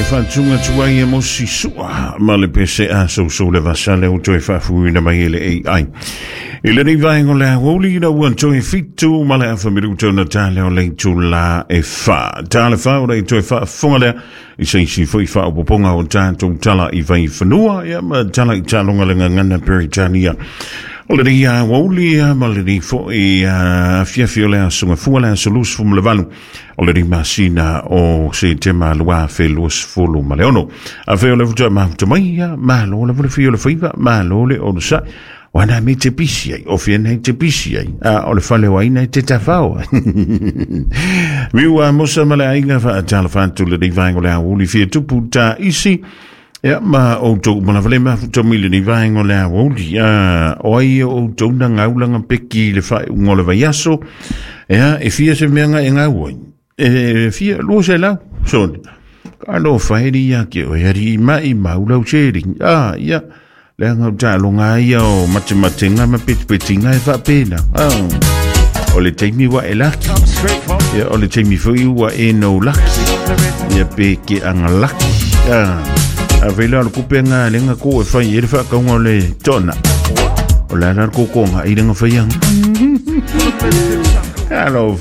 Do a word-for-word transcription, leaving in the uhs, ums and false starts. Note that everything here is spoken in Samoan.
Whātunga tuai e mosi sua ma le pese a so le vasale o toe whaafuina mai ele A I. I le nei vaenga o le aoauli ina ua toe fitu ma le afa minuta ona tale o le itulā e fa. Tale fa o le toe faafofoga lea i se isi foi faaopoopoga o tatou tala i vaifanua ia ma tala i taaloga le gagana Peretania. O lenei aoauli ma lenei foi afiafi o le aso Gafua, le aso luasefulu ma le valu o lenei masina o Setema luafe luasefulu ma le ono. Afai o le faatoa mafuta mai, ia, malo lava le fia o le faiva, malo le onosai. Wana me te pisi ai, o fia nei te pisi ai, a o le fale o aina e te tawhao. Miu a mosa ma le aiga faatalofa atu lenei vaega o le aoauli fia tupu ta isi. Ia ma outou uma lava le mafuta mai lenei vaega o le aoauli. O ai o outou na gaulaga peki i le faaiuga o le vaiaso? Ia, e fia se meaga e gau ai? E fia, lua selau, soni. Ka lo whaeri ia ke o ari mai maulau seri. Ah, ia. Leaga o taaloga ia o matematenga ma petepetinga e faapena. Ah. O le taimi ua e laki. Ia, o le taimi foi ua e no laki. Ia pe ke anga laki. Ah. A vela o le kupe ngā lenga ko e whai e le whakaunga o le tona. O la la koko ngā i lenga whaianga. Alo.